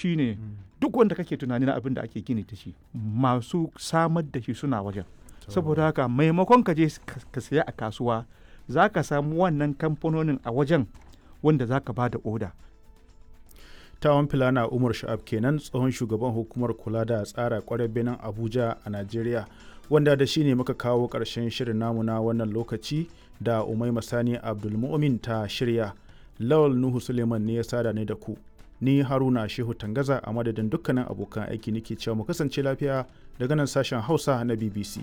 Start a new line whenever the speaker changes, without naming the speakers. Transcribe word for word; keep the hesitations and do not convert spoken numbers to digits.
Shine duk wanda kake tunani na abin da ake gini da shi, masu samar da shi suna wajen. Saboda haka maimakon ka je ka saya a kasuwa, za ka samu wannan kamfanonin a wajen wanda za ka ba da oda.
Tawon Filana Umar Sha'ab kenan, tsohon shugaban hukumar kula da tsara kwarar birnin Abuja a Najeriya, wanda da shi ne muka kawo ƙarshen shirin namu na wannan lokaci da Umaima Sani Abdulmu'min ta shirya. Lawal Nuhu Suleiman ne ya sada ni da ku. Ni Haruna Shehu Tangaza, a madadin dukkanin abokan aiki nake cewa mu kasance lafiya daga nan sashen Hausa na B B C.